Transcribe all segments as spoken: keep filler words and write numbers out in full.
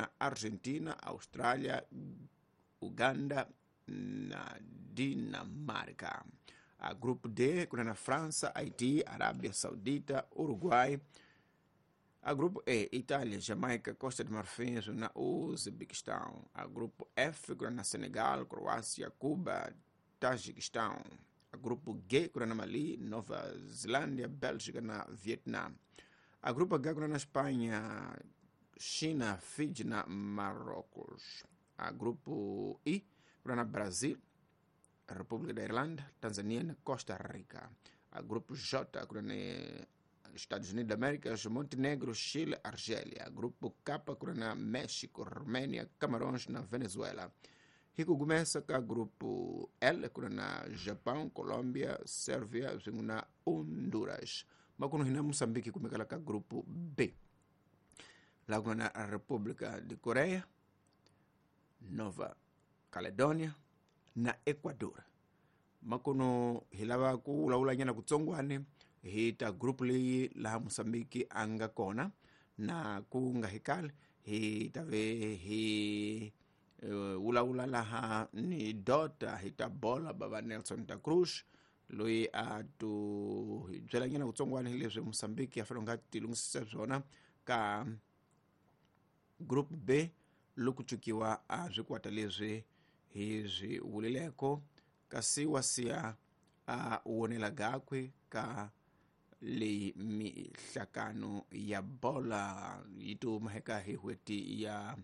na Argentina, Austrália, Uganda na Dinamarca. A grupo D kuna na França, Haiti, Arábia Saudita, Uruguai. A grupo E, Itália, Jamaica, Costa de Marfim na Uzbequistão. A grupo F kuna na Senegal, Croácia, Cuba, Tajiquistão. A grupo G kuna na Mali, Nova Zelândia, Bélgica na Vietnã. A grupo H kuna na Espanha, China, Fiji na Marrocos. A grupo I kuna na Brasil, República da Irlanda, Tanzânia na Costa Rica. A grupo J kuna na Estados Unidos da América, Montenegro, Chile, Argélia. Grupo K kuna na México, Romênia, Camarões na Venezuela. Rico começa com o grupo L kuna na Japão, Colômbia, Sérvia, na Honduras. Makuno hina Moçambique kumekala ka grupo B. Lá kuna na República de Coreia, Nova Caledônia na Equador. Makuno hilava ku ulaula nyana kutsongwane hita grupo leyi laha Moçambique anga kona na ku nga hikali hi tave hi uh, ulaula laha ni dota hita bola baba Nelson da Cruz loyi a tu hi byela nyana kutsongwane hileswi Moçambique a fanele nga tilungisisa swona ka group B loko cukiwa a swikwata leswi hi swi vulileko kasi wa siya a wonela gakwe ka leyi mihlakano ya bola yi tuma eka hi n'hweti ya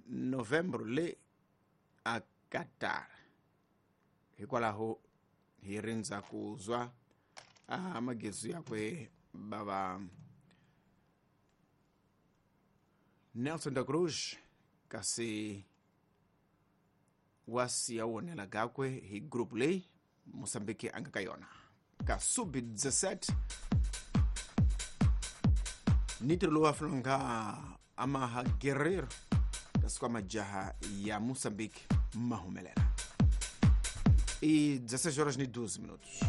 Novembro le a Qatar. Hikwalaho hi rindza ku zwa a magezi yakwe baba Nelson da Cruz kasi wa siya wonela gakwe hi group leyi Moçambique anga ka yona ka sub dezessete nitro lowu a fanele amaha guerreiro kasi kwa majaha ya Moçambique mahumelela. E dezesseis horas e doze minutos.